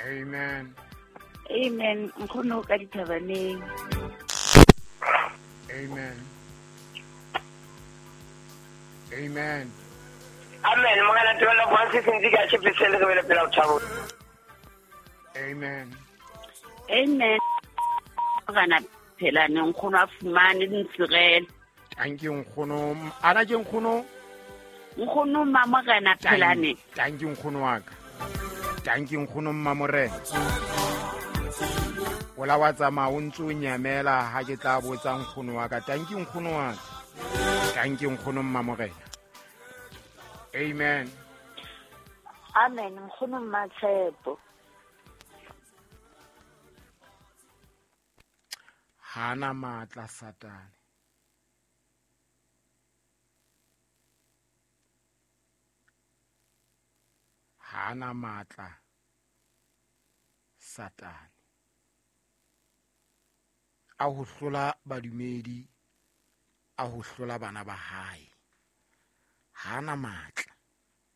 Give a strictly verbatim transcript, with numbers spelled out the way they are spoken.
Amen. Amen. Nkgono ka dithabaneng. Amen. Amen. Amen. Morena Tebello Francis Ntsika Tshepesele re bele pela o thabo. Amen. Amen. Morena Phelane nkgono a fumane dintsirele. Thank you nkgono. Ana ke nkgono? Nkgono Mmamorena Phelane. Thank you nkgono wa ka. Thank you nkgono Mmamorena. Ola wa tsamaya o ntse o nyamela ha ke tla botsa nkgono wa ka. Thank you nkgono wa ka. Thank you nkgono Mmamorena. Amen. Amen. Nkgono Mmatshepo. Hana matla Satane. Hana matla Satane. A ho hlola badumedi, a ho hlola bana ba hae. Hana matla.